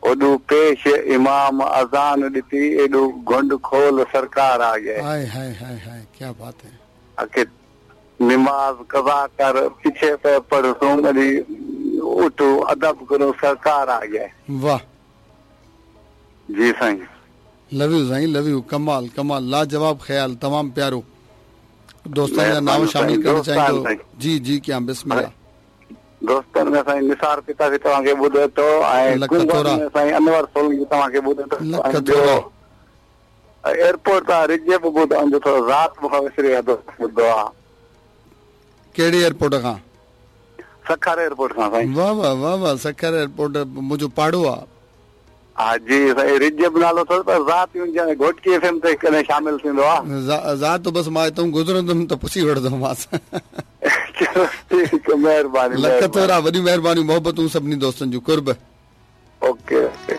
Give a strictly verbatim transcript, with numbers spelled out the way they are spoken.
ओॾो पेश इमाम अज़ान ॾिती, एॾो घुंड खोल सरकार आ गए। हाय हाय हाय हाय, क्या बात है। आखे नमाज़ कज़ा कर, पीछे पे पढ़सूं, वरी उठो अदब करो, सरकार आ गए। वाह जी साईं, love you Sain, love you. कमाल कमाल, लाजवाब ख़्याल, तमामु प्यारो। दोस्तनि जा नाम शामिल करणु चाहींदो। जी जी, क्या बिस्मिल्लाह। दोस्तनि में साईं निसार पिता बि तव्हांखे ॿुधे थो, ऐं में साईं अनवर सोलंकी तव्हांखे ॿुधे थो। एयरपोर्ट तां रिजे बि ॿुधो, थोरो राति मूंखां विसरी वियो दोस्त ॿुधो आहे। कहिड़े एयरपोर्ट खां? सखर एयरपोर्ट खां साईं। वाह वाह वाह वाह, सखर एयरपोर्ट मुंहिंजो पाड़ो आहे। हा जी साईं, रिजब नालो अथव, पर ज़ात घोटकी एफ एम ते कॾहिं शामिल थींदो आहे। ज़ात बसि मां हितां गुज़रंदुमि त पुछी वठंदोमांसि। ठीकु, महिरबानी। लख थोरा, वॾियूं महिरबानियूं, मोहबतूं सभिनी दोस्तनि जूं। कुर्ब। Okay okay.